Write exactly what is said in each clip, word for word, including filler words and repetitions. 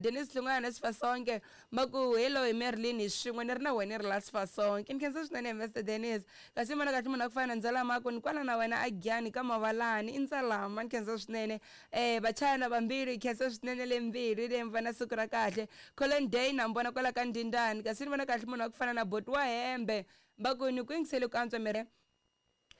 Dennis Hlungwana Sifasonke maku hello hi Merlin hi swin'we ni ri na wena ri la Sifasonke ni khensa swinene Mister Dennis kasi mana kahle munhu a ku fana na Ndzalama ku ni kwala na wena a Giyani ka Mavalani i Ndzalama ni khensa swinene eh vachayana vambirhi khensa swinene le mbirhi le mi va na siku ra kahle Colin Day na mi vona kwala ka Ndindani kasi ni vona kahle munhu wa ku fana na Boti wa Hembe va ku ni ku yingisele ku antswa mere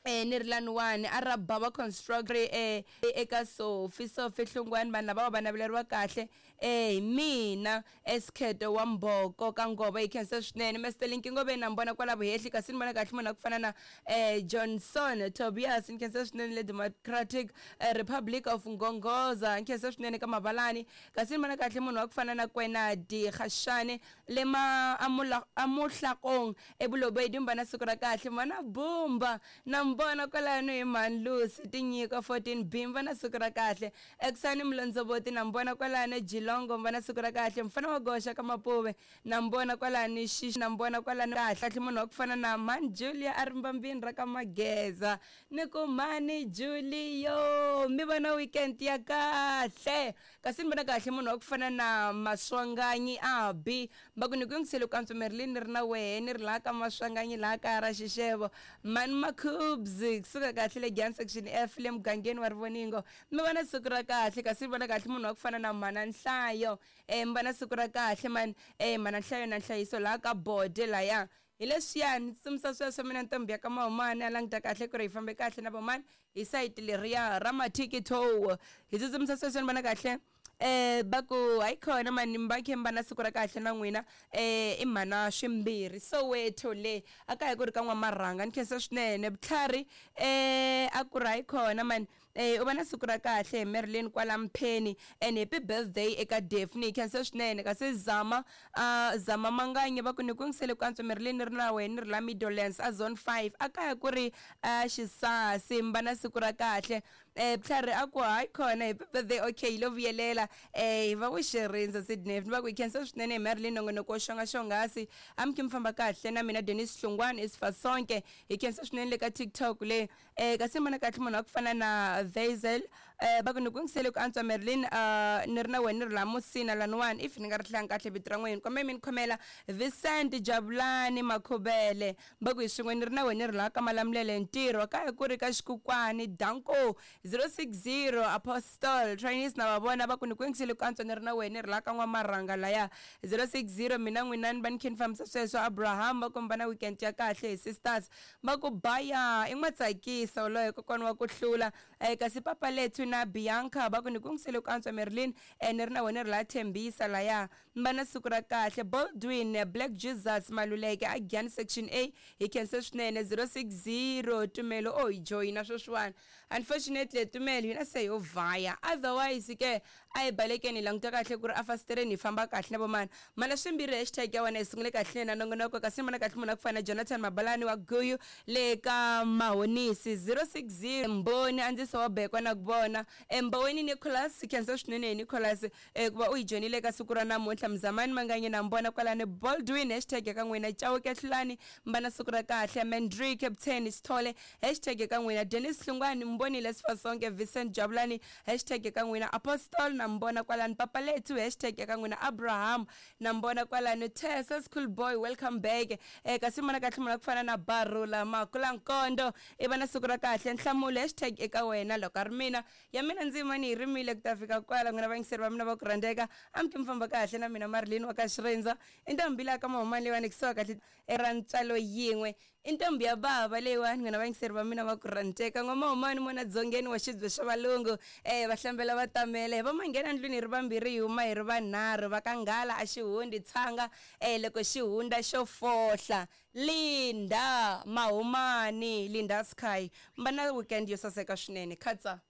eh ni ri laniwani a ra bava construct eh eka Sophie Sophie Hlungwani vanhu lava va naveleriwa kahle eh hi mina Eskheto wa Mboko ka Ngova yi khensa swinene Mister Linki Ngove na mi vona kwala vuhehli kasi ni vona kahle munhu a ku fana na eh Johnson Tobias ni khensa swinene le Democratic eh, Republic of Ngongoza ni khensa swinene ka Mavalani kasi ni vona kahle munhu wa ku fana na Kwenadi Khashane le ma amula amuhlakong eBulobedu mi va na siku ra kahle mana Bumba na mi vona kwalano hi mhani Lucy Tinyiko fourteen B mi va na siku ra kahle Eksani Mlondzovoti na mi vona kwalano Jilongo mi va na siku ra kahle mfana wa goxa ka Mapuve na mi vona kwalano Xixi na mi vona kwalano kahle kahle munhu wa ku fana na mhani Julia a ri mbambini ra ka Mageza ni ku mhani Julio mi va na weekend ya kahle kasi ni vona kahle munhu wa ku fana na Maswanganyi Abi va ku ni ku yingisele ku antswa Merlin ni ri na wehe ni ri laha ka Maswanganyi laha kaya ra Xixevo mhani Makhubs kusuka kahle le Giyani section F le mugangeni wa Rivoningo mi va na siku ra kahle kasi ni vona kahle munhu wa ku fana na mhana Nhlayo eh mi va na siku ra kahle mani eh mhana Nhlayo na Nhlayiso laha ka Bode laya hi leswiyani tsumisa sweswo mina ntombi ya ka Mahumani a languta kahle ku ri hi fambe kahle na vomani hi sayiti leriya ra Mathikitho hi tsutsumisa sweswo ni vona kahle eh va ku hayi khona mani mi va khe mi va na siku ra kahle na n'wina eh i mhana swimbirhi Soweto le a ka hi ku ri ka n'wamarhanga ni khensa swinene vutlhari eh a ku ri hayi khona mani eh u va na siku ra kahle hi Merlin kwala Mpheni and happy birthday eka Daphne hi khensa swinene kasi Zama uh, Zama Manganye va ku ni ku yingisele ku antswa Merlin ni ri na wena ni ri la Meadowlands a zone five a kaya ku ri uh, Xisasi mi va na siku ra kahle eh vutlhari a ku hayi khona happy birthday okay hi lo vuyelela eh hi va ku xirindza Sydney ni va ku hi khensa swinene hi Merlin nongonoko wo xonga xongasi a mi khe mi famba kahle na mina Dennis Hlungwani Isifasonke hi khensa swinene le ka TikTok le eh kasi mana kahle munhu wa ku fana na Vazel eh va ku ni ku yingisele ku antswa Merlin uh, ni ri na wena ni ri la Musina laniwani if ni nga ri hlangi kahle vito ra n'wina kumbe mi ni khomela Vincent Jabulani Makhubele va ku hi swin'we ni ri na wena ni ri laha ka Malamulele ntirho kaya ku ri ka Xikukwani Danko zero six zero Apostle Chinese na va vona va ku ni ku yingisele ku antswa ni ri na wena ni ri laha ka N'wamarhanga laya zero six zero mina n'wina ni va ni khe ni fambisa sweswo Abraham va ku mi va na weekend ya kahle hi sisters va ku baya i n'watsakisa woloye kokwana wa ku hlula eh kasi papa lethu na Bianca va ku ni ku yingisele ku antswa Merlin eh ni ri na wena ri laha Thembisa laya mi va na siku ra kahle Baldwin Black Jesus Maluleke a Giyani section A hi khense swinene zero six zero Tumelo o hi joyina sweswiwani unfortunately Tumelo hina se yo vhaya otherwise ke a hi balekeni hi languta kahle ku ri a fasitereni hi famba kahle na vomani mana swimbirhi hashtag ya wena hi sungule kahle na nongonoko kasi ni vona kahle munhu a ku fana na Jonathan Mabalani wa Guyu le ka Mahonisi zero six zero Mboni andziso wa bekwa na ku vona Mboweni Nicholas khensa swinene hi Nicholas eh, ku va u hi joyinile ka siku ra namuntlha Mzamani Manganye na mbona kwalani Baldwin hashtag ya ka n'wina Chauke Hlulani mi na siku ra kahle Mandri Captain Sithole hashtag ya ka n'wina Dennis Hlungwani Mbonile Sifasonke Vincent Jabulani hashtag ya ka n'wina Apostle na mbona kwalani Papa Lethu hashtag ya ka n'wina Abraham na mbona kwalani Tessa School Boy welcome back eh kasi mana kahle munhu ku fana na Barula Makulankondo i va na siku ra kahle Nhlamulo hashtag eka wena loko a ri mina ya mina ndzima ni yi rimile ku ta fika kwala n'wina vayingiseri va mina va ku rhandzeka a mi ki mi famba kahle na mina Marilyn wa ka Xirindza i ntombi laha ka Mahumani leyiwani kusuka kahle ra ntswalo yin'we i ntombi ya bava leyiwani n'wina vayingiseri va mina va ku rhandzeka n'wa Mahumani mona dzongeni wa xibye xa valungu eh va hlambela va tamele va manghena ndlwini hi ri vambirhi hi huma hi ri vanharhu va ka nghala a xi hundi tshanga eh loko xi hundza xo fohla Linda Mahumani Linda Sky mi va na weekend yo saseka swinene khatsa.